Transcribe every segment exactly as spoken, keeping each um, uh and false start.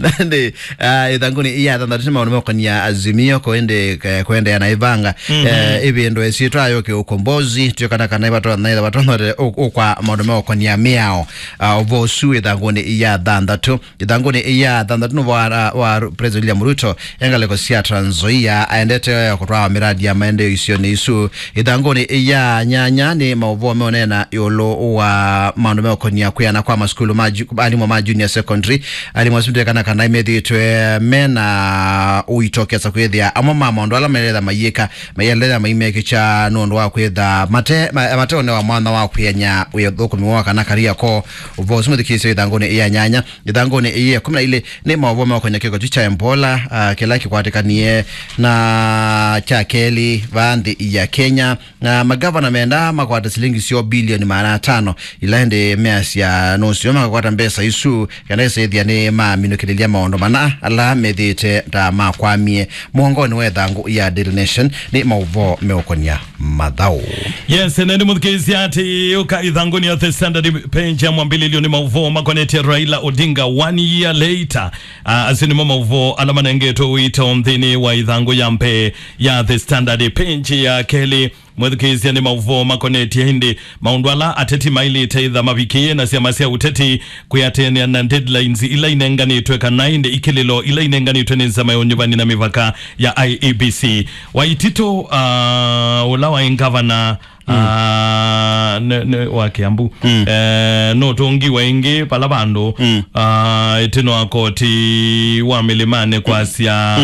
Nĩ, ah, ĩthangũnĩ ya thanthatũ nĩ maũndũ meũkonia Azimio kũende, eh, kũendeea na ĩvanga. Mhm. Eh, ĩvĩndũ ĩsyĩtwa yo kĩũkombozi, twĩkana kana ĩvatona, ĩvatona ũkwa maũndũ meũkonia mĩao. Ah, ũvoo ũsu ĩthangũnĩ ya thanthatũ. Ĩthangũnĩ ya thanthatũ nĩ wa, wa President William Ruto, e ngalĩko sya Trans Nzoia, aendete kũtwaa mĩradi ya maendeeo isionĩ isu. Ĩthangũnĩ ya nyanya nĩ maũvoo meũneena ĩũlũ wa maũndũ meũkonia kwĩana kwa masukulu ma ju-, alimũ ma junior secondary. Alimũ asu ndekana kana methĩĩtwe mena ũito kesa kwĩthĩa amwe ma maũndũ ala maĩletha mayĩka, maĩletha maimekĩkya nũndũ wa kwĩtha mate, ma-, mateũnewa mwanya wa kwĩany'a wĩa ũthũkũmi woo kana career koo. Ũvoo ũsu mwĩthukĩĩsye ĩthangũnĩ ya nyanya. Ĩthangũnĩ ĩĩ ya ĩkũmi na ilĩ nĩ maũvoo meũkonya kĩko kyu kya Ebola, ah, kĩla kĩkwatĩkanie na kya kelĩ vaa nthĩ ya Kenya. Na magavana menda makwata silingi syoo bilioni maana atano, ila ĩndĩ measya nũseo makakwata mbesa isu kana ĩsĩthya nĩ maminũkĩlĩlya maũndũ mana ala methĩĩte ta makwamie. Mũongonĩ wa ĩthangũ ya Daily Nation nĩ maũvoo meũkonya mathaũ. Yes, nende mũthukĩĩsya atĩ ũka ĩthangũnĩ ya The Standard page ya mwambĩlĩlyo nĩ maũvoo makonetye Raila Odinga one year later. Ah, asu nĩmo maũvoo ala manengetwe ũito nthĩnĩ wa ĩthangũ ya mbee ya The Standard page ya kelĩ. Mwĩthukĩĩsya nĩ maũvoo makonetye ĩndĩ maũndũ ala ateti maĩlĩte ĩtha mavikĩĩe na syama sya ũteti kwĩatĩanĩa na deadlines ila inenganĩtwe kana ĩndĩ ikĩlĩlo ila inenganĩtwe nĩ nzama ya ũnyuvani na mĩvaka ya I E B C. Waititu, ah, ũla waĩ ngavana, ah, nĩ, nĩ wa Kiambu, eh, nũtũngiwe ĩngĩ vala vandũ, ah, ĩtĩno wa koti wa mĩlĩmanĩ kwasya,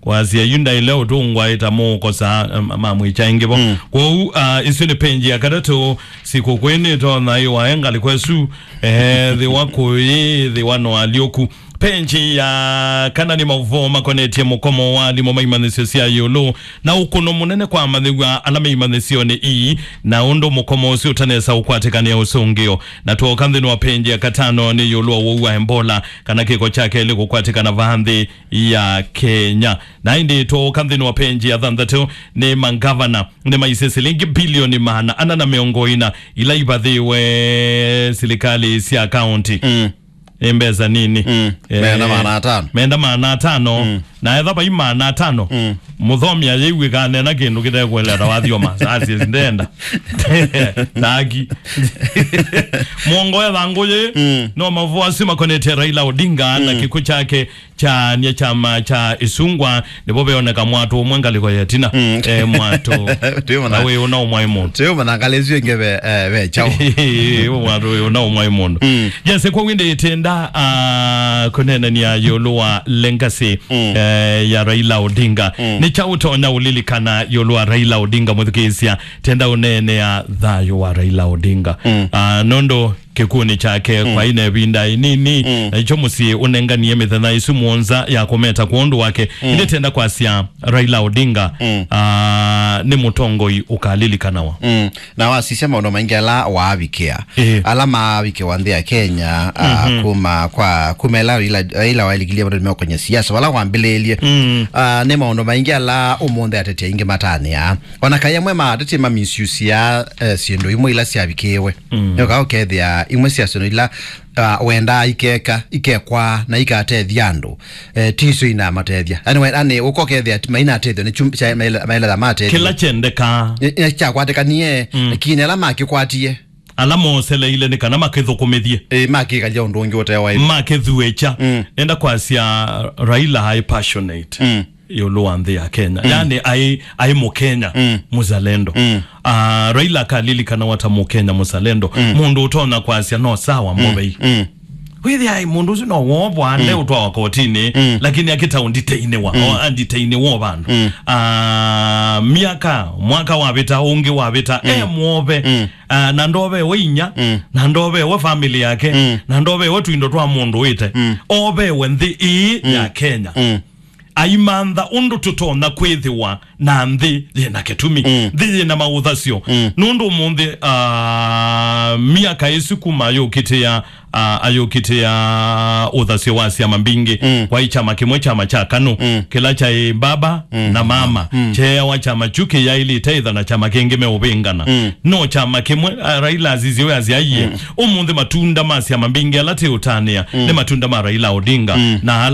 kwasya yu ndaĩle ũtũngwa ĩta mũũkosa, em, mamwĩkya ĩngĩ vo. Kwoou, ah, isu nĩ page ya katatũ, sikũkwĩ nĩtonya ĩwa e ngalĩko ĩsu, eh, thĩwa kũyĩ, thĩwa no alyũku. Page ya kana nĩ maũvoo makonetye mũkomo wa alimũ ma imanyĩsyo sya ĩũlũ na ũkũno mũnene kwa amanyĩw'a ala me imanyĩsyonĩ ii, na ũndũ mũkomo ũsu ũtanesa ũkwatĩkanĩa ũsũngĩo. Na twooka nthĩnĩ wa page ya katano nĩ ĩũlũ wa ũwau wa Ebola, kana kĩko kya kelĩ kũkwatĩkana vaa nthĩ ya Kenya. Na ĩndĩ twooka nthĩnĩ wa page ya thanthatũ nĩ mangavana nĩmaisye silingi bilioni maana ana na mĩongo ĩna ila ivathĩwe silikalĩ sya kaũnti. Mm. Nĩ mbesa nini. Mm. Eh, menda maana atano. Menda maana atano. Mm. Na etha vai maana atano. Mm. Mũthomi ayĩw'ĩka anena kĩndũ kĩtekũeleta wathio masasi ndenda. Taki. Mwongo etha ngũyĩ. Mm. No maũvoo asu makonetye Raila Odinga na kĩkw'ũ kyake kyaany'a kyama kya Ĩsungwa, nĩvo veoneka mwatũ ũmwe ngalĩko ya ĩtina. Mm. Eh, mwatũ. Twĩmana. Na wĩ ũna ũmwaĩ mũndũ. Twĩmana ngalĩ isu ĩngĩ ve, eh, ve kyaũ. Mwatũ wĩ ũna ũmwaĩ mũndũ. Mm. Yes, kwa wĩndĩ ĩtenda, ah, kũneenania ĩũlũ wa legacy, eh, ya Raila Odinga. Mm. Nĩ kyaũ ũtonya ũlilikana ĩũlũ wa Raila Odinga, mwĩthukĩĩsya? Tenda ũneenea thayũ wa Raila Odinga. Mm. Ah, nũndũ kĩkw'ũnĩ kyake, mm, kwaĩ na ĩvinda ĩnini, mm, na nĩkyo mũsyĩ ũnenganie mĩthenya ĩsu mũonza ya kũmeta kwondũ wake. Mm. Ĩndĩ tenda kwasya Raila Odinga, mm, ah, nĩ mũtongoi ũkalilikanawa. Mm. Na wasisya maũndũ maingĩ ala waavikĩa, ĩĩ, ala maavikĩwa nthĩ ya Kenya, ah, mhm, kuma kwa, kuma ĩla Raila, Raila waĩlikilye maũndũ meũkonya siasa, vala wambĩlĩĩlye. Mm. Ah, nĩ maũndũ maingĩ ala ũmũnthĩ ateti aingĩ matanĩaa. Ona kaĩ amwe ma ateti mamisusia, eh, syĩndũ imwe ila syavikĩĩwe. Mm. Nĩũka ũkethĩa imwe sya syĩndũ ila, ah, wendaa ikeka, ikekwa na ikatethya andũ, eh, ti isu inamatethya. Yaani we-, yaani ũka ũkethĩa ti mainatethyo nĩ chum-, cha maele-, maĩletha matethya. Kĩla kyendekaa. Nĩ, nĩ kyakwatĩkanie, mm, lakini ala makĩkwatie, ala moseleile nĩ kana makĩthũkũmĩthye. Ĩĩ, makĩkalya ũndũ ũngĩ ũte wa ĩĩ. Makĩthuĩkya. Mm. Nenda kwasya Raila aĩ passionate. Mm. Ĩũlũ wa nthĩ ya Kenya. Mm. Yaani, aĩ, aĩ Mũkenya, mm, mũzalendo. Mm. Ah, Raila akalilikanawa ta Mũkenya mũzalendo. Mm. Mũndũ ũtonya kwasya no sawa, mm, Movei. Mm. Wĩthĩa aĩ mũndũ ũsu no wovwa, mm, ndeũtwawa kotinĩ, mm, lakini akĩta ũnditeinĩwa, mm, o anditeinĩwa o vandũ. Mm. Ah, myaka, mwaka wavĩta, ũngĩ wavĩta, mm, e mwove. Mm. Ah, na ndovewe inya, mm, na ndovewe family yake, mm, na ndovewe twindo twa mũndũ wĩte. Mm. Ovewe nthĩ ĩĩ, mm, ya Kenya. Mm. aimantha ũndũ tũtonya kwĩthĩwa na nthĩ yĩna kĩtumi, mm, nthĩ yĩna maũthasyo. Mm. Nũndũ ũmũnthĩ, ah, myaka ĩsu kuma ayũkĩtĩa, ah, ayũkĩtĩa ũthasyo wa syama mbingĩ, mm, kwaĩ kyama kĩmwe, kyama kya KANU, mm, kĩla kyaĩ baba, mm, na mama, mm, kyeeawa kyama kyu kĩyaĩlĩte ĩtha na kyama kĩngĩ meũvĩngana. Mm. No kyama kĩmwe, ah, Raila asisye we asyaie, mm, ũmũnthĩ matunda ma syama mbingĩ ala tĩũtanĩa, mm, nĩ matunda ma Raila Odinga, mm, na ala